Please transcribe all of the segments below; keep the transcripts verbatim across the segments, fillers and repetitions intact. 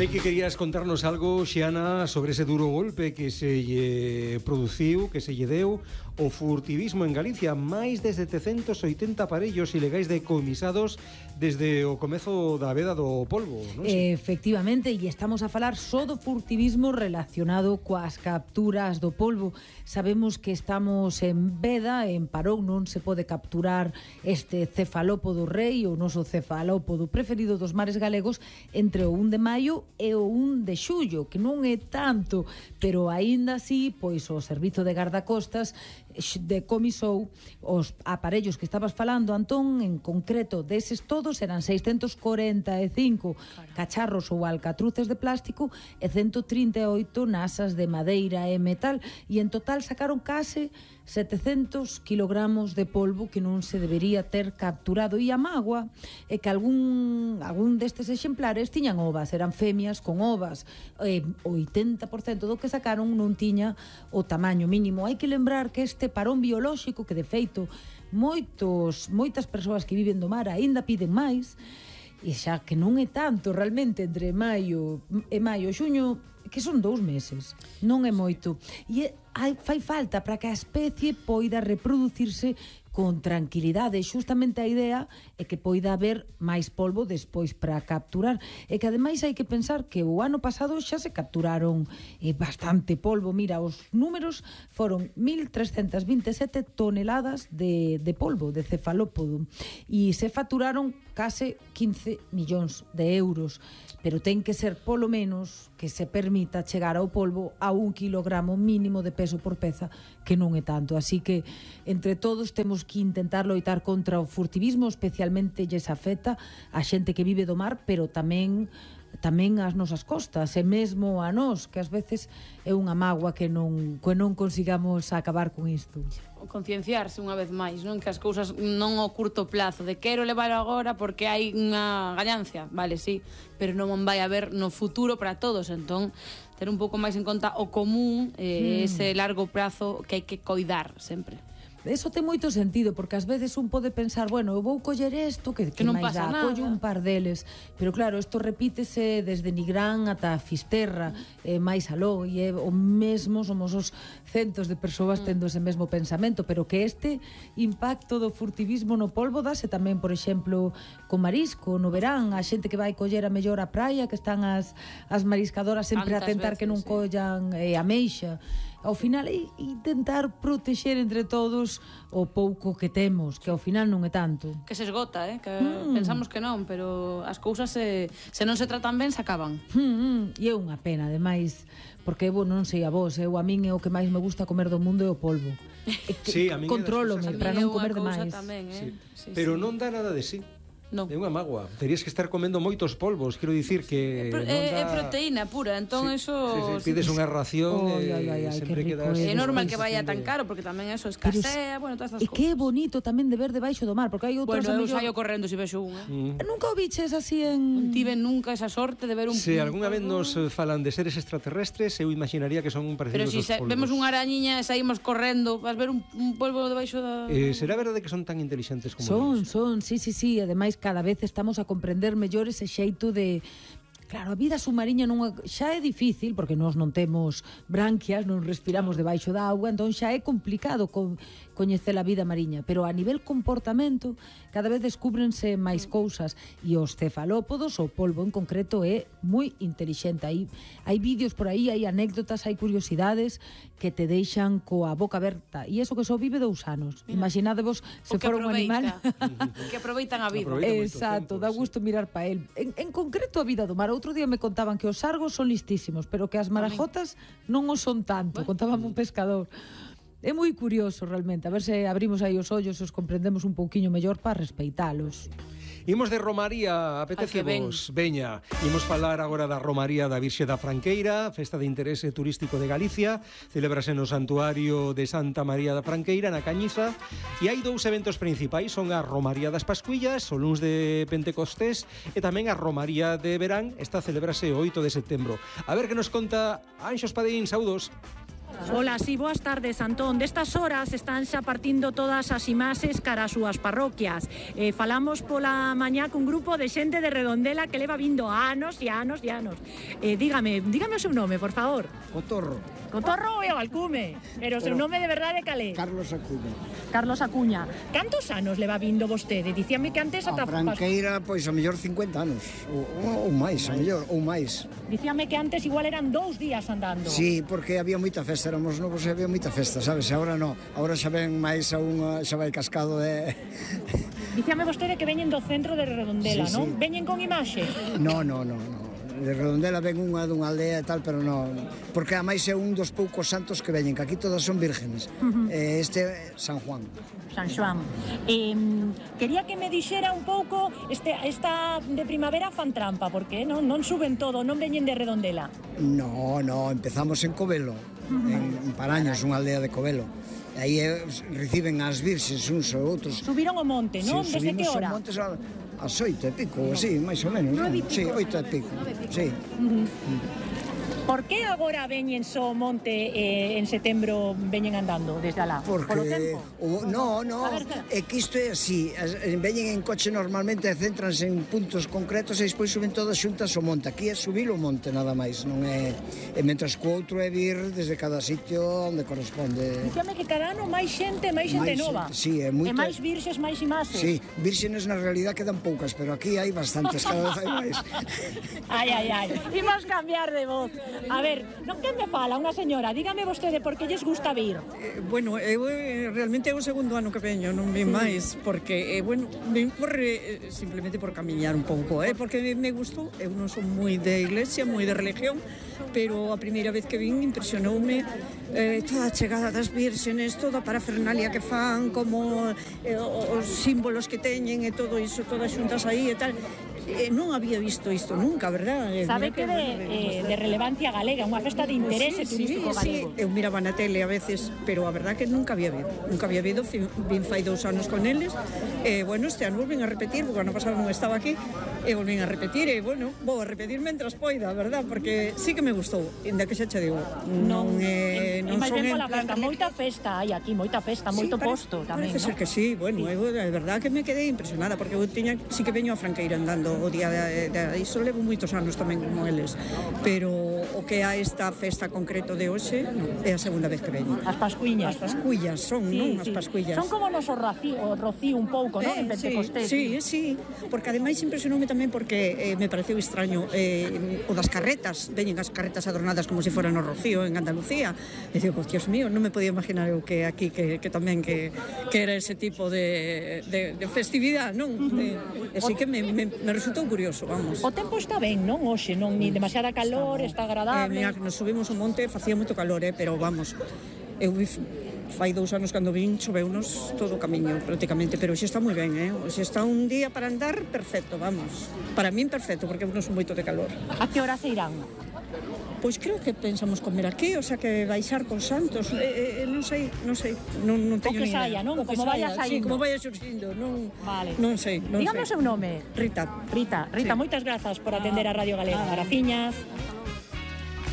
Sei que querías contarnos algo, Xiana, sobre ese duro golpe que se lle produciu, que se lle deu o furtivismo en Galicia. Máis de setecentos oitenta aparellos ilegais decomisados desde o comezo da veda do polvo, non sei? Efectivamente, e estamos a falar só do furtivismo relacionado coas capturas do polvo. Sabemos que estamos en veda, en parón, non se pode capturar este cefalópodo rei, o noso cefalópodo preferido dos mares galegos, entre o un de maio e o un de xullo, que non é tanto, pero aínda así, pois o Servizo de Gardacostas decomisou os aparellos que estabas falando, Antón, en concreto deses todos eran seiscentos corenta e cinco cacharros ou alcatruces de plástico e ciento trinta e oito nasas de madeira e metal, e en total sacaron case setecentos kilogramos de polvo que non se debería ter capturado. E a mágoa é que algún, algún destes exemplares tiñan ovas, eran femias con ovas, e o oitenta por cento do que sacaron non tiña o tamaño mínimo. Hai que lembrar que este parón biolóxico, que de feito moitos, moitas persoas que viven do mar aínda piden máis, e xa que non é tanto realmente entre maio e maio e xuño, que son dous meses, non é moito, e é, hai, fai falta para que a especie poida reproducirse con tranquilidade. Xustamente a idea é que poida haber máis polvo despois para capturar, e que ademais hai que pensar que o ano pasado xa se capturaron eh, bastante polvo. Mira, os números foron mil trescentas vinte e sete toneladas de, de polvo, de cefalópodo, e se facturaron case quince millóns de euros, pero ten que ser polo menos que se permita chegar ao polvo a un kilogramo mínimo de peso por peza, que non é tanto. Así que entre todos temos que intentar loitar contra o furtivismo, especialmente lles afecta a xente que vive do mar, pero tamén tamén ás nosas costas, e mesmo a nós, que ás veces é unha mágoa que non, que non consigamos acabar con isto. Concienciarse unha vez máis, non? Que as cousas non ao curto plazo, de quero levar agora porque hai unha gañancia, vale, sí, pero non vai haber no futuro para todos, entón ter un pouco máis en conta o común, eh, hmm. ese largo prazo que hai que coidar sempre. Eso ten moito sentido, porque ás veces un pode pensar, bueno, eu vou coller isto, que, que, que non máis dá, collo un par deles, pero claro, isto repítese desde Nigrán ata Fisterra, mm. eh, máis aló, e é o mesmo, somos os centos de persoas tendo ese mesmo pensamento, pero que este impacto do furtivismo no polvo dase tamén, por exemplo, con marisco, no verán, a xente que vai coller a mellor a praia, que están as, as mariscadoras sempre Tantas a tentar veces, que non sí. collan eh, a meixa. Ao final é intentar protexer entre todos o pouco que temos, que ao final non é tanto. Que se esgota, eh? Que mm. pensamos que non, pero as cousas se, se non se tratan ben, se acaban. Mm, mm. E é unha pena, ademais, porque eu non sei a vos, eu a min é o que máis me gusta comer do mundo é o polvo. Sí, a min contrólome para non comer demais. Tamén, eh? Sí. Sí, pero sí. non dá nada de sí. No. É unha mágoa. Terías que estar comendo moitos polvos, quero dicir que é, non é, dá... é proteína pura, entón sí, eso sí, sí, pides sí. unha ración oh, e ay, ay, ay, sempre quedas... É normal que vaya tan caro, porque tamén eso escasea, bueno, todas estas e cousas. que é bonito tamén de ver debaixo do mar, porque hai outros... Bueno, eu mellor... saio correndo se vexo unha. Mm. Nunca o biches así en... Non tive nunca esa sorte de ver un... Se algunha vez nos falan de seres extraterrestres, eu imaginaría que son parecidos Pero si aos polvos. vemos unha arañiña e saímos correndo, vas ver un, un polvo debaixo da... Eh, será verdade que son tan inteligentes como Son, eles? son, sí, sí, sí. Ademais, cada vez estamos a comprender mellor ese xeito de... Claro, a vida submarina non é, xa é difícil, porque nós non temos branquias, non respiramos debaixo da auga, entón xa é complicado con, coñecer a vida mariña, pero a nivel comportamento cada vez descúbrense máis cousas, e os cefalópodos, o polvo en concreto, é moi intelixente. Hai, hai vídeos por aí, hai anécdotas, hai curiosidades que te deixan coa boca aberta, e eso que só vive dous anos. Imaginadevos se fora un animal que aproveitan a vida. Exacto, tempo, dá gusto sí. mirar pa el. En, en concreto a vida do mar. Outro día me contaban que os sargos son listísimos, pero que as marajotas non o son tanto. Contábame un pescador. É moi curioso realmente, a ver se abrimos aí os ollos e os comprendemos un pouquiño mellor para respeitalos. Imos de Romaría, apetecemos, veña. Imos falar agora da Romaría da Virxe da Franqueira, festa de interese turístico de Galicia. Celebrase no Santuario de Santa María da Franqueira, na Cañiza. E hai dous eventos principais, son a Romaría das Pascuillas, o luns de Pentecostés, e tamén a Romaría de Verán, esta celebrase o oito de setembro. A ver que nos conta Anxo Espadín, saudos. Ola, sí, boas tardes, Antón. Destas horas están xa partindo todas as imaxes cara as súas parroquias. Eh, falamos pola mañá cun grupo de xente de Redondela que leva vindo anos e anos e anos. Eh, dígame, dígame o seu nome, por favor. Cotorro. Cotorro e o Alcume, pero o seu nome de verdade calé? Carlos Acuña. Carlos Acuña. Cantos anos leva vindo vostede? Dicíame que antes... A Franqueira, pois, a mellor cincuenta anos, ou, ou máis, a mellor, ou máis. Dicíame que antes igual eran dous días andando. Sí, porque había moita festa, éramos novos e había moita festa, sabes? E agora non, agora xa ven máis a unha, xa vai cascado de... Dicíame vostede que veñen do centro de Redondela, sí, non? Sí. Veñen con imaxe? Non, non, non, non. De Redondela ven unha dunha aldea e tal, pero non, porque a máis é un dos poucos santos que veñen, que aquí todas son vírgenes. Uh-huh. eh, este é San Juan. San Xoán. Eh, quería que me dixera un pouco este, esta de primavera fan trampa, porque non, non suben todo, non veñen de Redondela. No, no, empezamos en Covelo, uh-huh. en, en Paraños, unha aldea de Covelo. Aí eh, reciben as virxes uns ou outros. Subiron o monte, non? Sí, desde que hora? Monte, as oito e pico, así, máis ou menos. Nove e pico. Sí, oito e pico. Sí. Uh-huh. Por que agora veñen só monte eh, en setembro veñen andando desde alá? Porque... Por o tempo? O, no, no, ver, é que isto é así. As, veñen en coche normalmente e céntranse en puntos concretos e despois suben todas xuntas o monte. Aquí é subir o monte nada máis, non é... E mentras que o outro é vir desde cada sitio onde corresponde. Díxame que cada ano máis xente, máis xente máis, nova. Sí, é moita... E máis virxes, máis imaxes. Sí, vírgenes na realidad quedan poucas, pero aquí hai bastantes, cada vez hai máis. Ai, ai, ai. Imos cambiar de voz. A ver, non que me fala unha señora, dígame vostede por que lles gusta vir. Eh, bueno, eu eh, realmente é o segundo ano que veño, non vin máis, porque, eh, bueno, vin por, eh, simplemente por camiñar un pouco, eh, porque me, me gustou, eu non son moi de iglesia, moi de religión, pero a primeira vez que vin impresionoume eh, toda a chegada das vírgenes, toda a parafernalia que fan, como eh, os símbolos que teñen e todo iso, todas xuntas aí e tal. Eh, non había visto isto nunca, verdad? Sabe que de, eh, de relevancia galega, unha festa de interese sí, turístico sí, galego. Sí, eu miraba na tele a veces, pero a verdad que nunca había vido. Nunca había vido, vin fai dous anos con eles. E, eh, bueno, este ano volven a repetir, porque ano pasado non estaba aquí, e volven a repetir, e, bueno, vou a repetir mentras poida, verdad? Porque sí que me gustou, ainda que xa che digo, non, eh, non son en plan... Festa, moita festa hai aquí, moita festa, moito sí, posto tamén, parece ¿no? ser que sí, bueno, sí. Eu, de verdad que me quedei impresionada, porque eu tiña, sí que veño a Franqueira andando o día de, de iso, levo moitos anos tamén como eles, pero o que a esta festa concreto de hoxe no, é a segunda vez que veño. As pascuiñas. As pascuillas son, sí, non? As sí. pascuillas. Son como nos o rocío, o rocío un pouco, non? Eh, En Pentecostés. Sí, sí, sí, porque ademais impresionoume tamén porque eh, me pareceu extraño eh, o das carretas, veñen as carretas adornadas como se foran o rocío en Andalucía. E digo, Dios mío, non me podía imaginar eu que aquí que, que tamén que, que era ese tipo de, de, de festividade, non? De, así que me, me, me resultou curioso, vamos. O tempo está ben, non? Hoxe, non? Ni demasiada calor, está, está agradable. Eh, mira, nos subimos o monte, facía moito calor, eh, pero vamos, eu vi fai dous anos cando vin, choveunos todo o camiño prácticamente, pero xe está moi ben, eh? Xe está un día para andar perfecto, vamos. Para min perfecto, porque eu non son moito de calor. A que hora se irán? Pois creo que pensamos comer aquí, o sea que baixar con Santos, eh, eh, non sei, non sei, non, non teño ni idea. O que saia, non? Como vaya saindo. Sí, como vaya xurxindo, non, vale. non sei, non Dígame sei. o seu nome. Rita. Rita, Rita, sí. moitas grazas por atender a Radio Galega. Ah. Graciñas.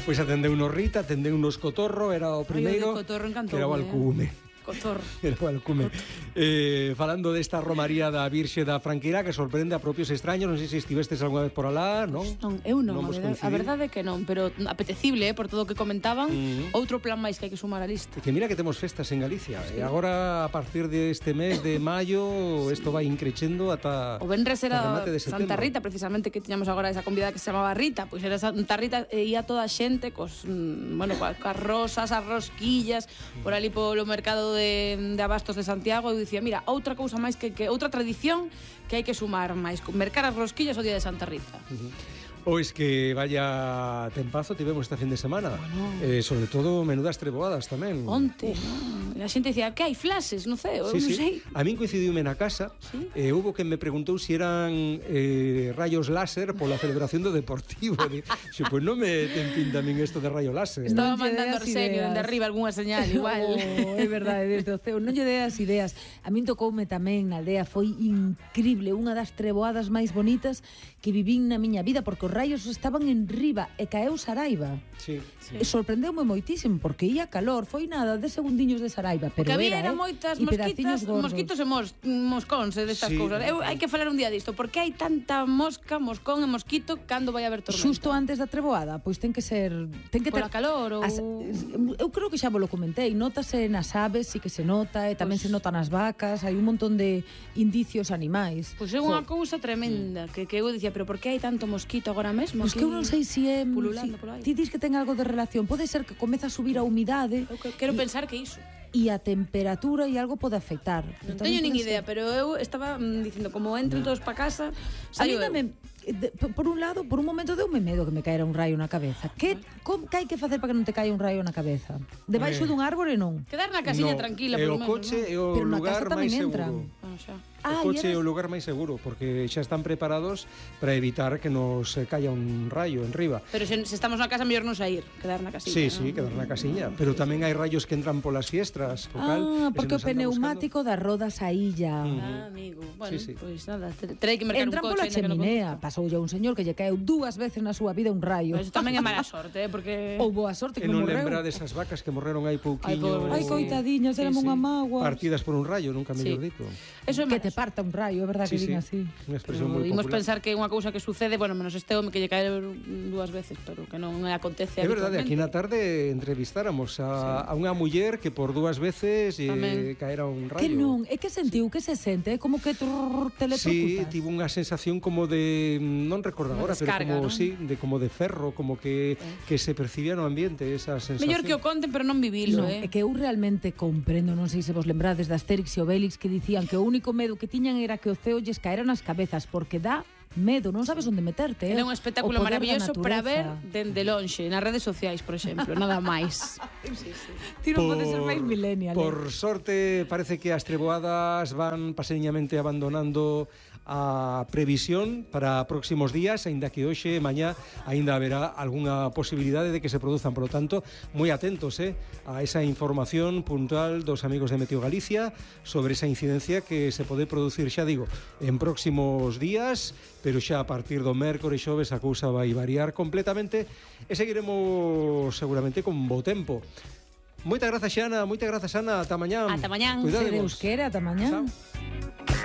Pois atendeu unos Rita, atendeu unos Cotorro, era o primeiro, que era o Alcume. Cotorro. Era o Alcume. Eh, falando desta romaría da Virxe da Franqueira que sorprende a propios extraños, non sei se estivestes algunha vez por alá, non? Non, eu non, non a, verdade, a verdade é que non, pero apetecible, eh, por todo o que comentaban, uh-huh. Outro plan máis que hai que sumar á lista. Que mira que temos festas en Galicia, sí. E agora a partir deste mes de maio isto vai increchendo ata o venres era Santa Rita, precisamente, que tiñamos agora esa convidada que se chamaba Rita, pois era Santa Rita e ia toda a xente cos, bueno, coas rosas, as rosquillas, por ali polo mercado de, de abastos de Santiago, e eu dicía, mira, outra cousa máis que, que outra tradición que hai que sumar máis, mercar as rosquillas o día de Santa Rita. Uh-huh. O es que vaya tempazo tivemos esta fin de semana. Bueno. Eh, sobre todo menudas treboadas tamén. Onte, no? A xente dicía, que hai flases no ceo, sí, eu non sí. sei. A min coincidiume na casa, ¿sí? eh, hubo que me preguntou se si eran eh, rayos láser pola celebración do Deportivo. Xe, pois pues non me ten pinta a min isto de rayo láser. Estaba non mandando Arsenio dende arriba algunha señal, igual. Oh, é verdade, desde o ceo. Non lle dei as ideas. A min tocoume tamén na aldea, foi increíble, unha das treboadas máis bonitas que vivín na miña vida, porque os raios estaban en riba e caeu Saraiva. Sí. Sí. Sorprendeume moitísimo, porque ia calor, foi nada de segundiños de Saraiva, pero Porque había era, era eh? moitas E mosquitas, pedaciños gordos. mosquitos e mos, moscóns e destas Sí. cousas. Eu hai que falar un día disto, porque hai tanta mosca, moscón e mosquito cando vai haber tormenta. Xusto antes da treboada, pois ten que ser, ten que ter Pola calor ou As, eu creo que xa vos lo comentei, notase nas aves, sí que se nota, e tamén Pois- se nota nas vacas, hai un montón de indicios animais. Pois é unha cousa tremenda, que, que eu dicía, pero por que hai tanto mosquito agora mesmo? Pois que eu non sei se é... pululando si, por aí. ti dis que ten algo de relación, pode ser que comeza a subir a humidade Eu que- quero e- pensar que iso. e a temperatura e algo pode afectar. Non Pero teño tamén nin pode ser- idea, pero eu estaba mm, dicindo, como entren todos pa casa, A mí saio eu. dame, de, por un lado, por un momento deume medo que me caera un raio na cabeza. Que, com, que hai que facer para que non te caia un raio na cabeza? Debaixo Eh. dun árbore non. Quedar na casiña No, tranquila, e polo o menos, coche non? é o Pero na lugar casa tamén máis entran. seguro. Ah, xa. Ah, O coche é e o eras- lugar máis seguro, porque xa están preparados para evitar que nos eh, caia un rayo en riba. Pero se, se estamos na casa, mellor non sair, quedar na casiña. Sí, non? sí, quedar na casiña. Pero tamén hai rayos que entran polas fiestras, co cal, Ah, ese porque o nos anda pneumático das rodas a illa. Ah, amigo. Bueno, Sí, sí. pois nada, te- terei que mercar Entran un coche. pola aínda que non cheminea. Pasou a un señor que lle caeu dúas veces na súa vida un rayo. Pois tamén é mala sorte, eh, porque... Ou boa sorte E que non non morreu. lembra desas vacas que morreron hai pouquiño. Ai, pobre, Ai, sí. coitadiñas, Sí, éramos sí. unha mágoa. Partidas por un rayo, nunca mellor Sí. dito. Eso é Que mala te parta un rayo, é verdade Sí, que sí. din así. Unha expresión Pero moi imos popular. pensar que é unha cousa que sucede, bueno, menos este home que lle cae dúas veces, pero que non acontece É verdade, aquí na habitualmente. tarde entrevistáramos a, a unha muller que por dúas veces eh, Tamén. caera un rayo. Que non, é que sentiu, que se sente, é como que trrr, Sí, teletrucutas. tivo unha sensación como de, non recordo Unha agora, pero descarga, como non? sí, de como de ferro, como que que se percibía no ambiente esa sensación. Mellor que o conten, pero non vivilo, No, eh. é que eu realmente comprendo, non sei se vos lembrades de Asterix e Obelix, que dicían que o único medo que tiñan era que o ceo lles caera nas cabezas, porque dá medo, non sabes onde meterte. Eh? Era un espectáculo O poder da maravilloso para ver natureza. dende lonxe, nas redes sociais, por exemplo, nada máis. Ti non podes ser máis millennial. eh? Por sorte, parece que as treboadas van paseñamente abandonando a previsión para próximos días, aínda que hoxe e mañá aínda haberá algunha posibilidade de que se produzan. Por lo tanto, moi atentos eh, a esa información puntual dos amigos de Meteo Galicia sobre esa incidencia que se pode producir, xa digo, en próximos días, pero xa a partir do mércores e xoves a cousa vai variar completamente e seguiremos seguramente con bo tempo. Moitas grazas, Xana, moitas grazas, Ana, ata mañá. Ata mañán. Se Cuidadevos. Deus quere, ata mañán. Chao.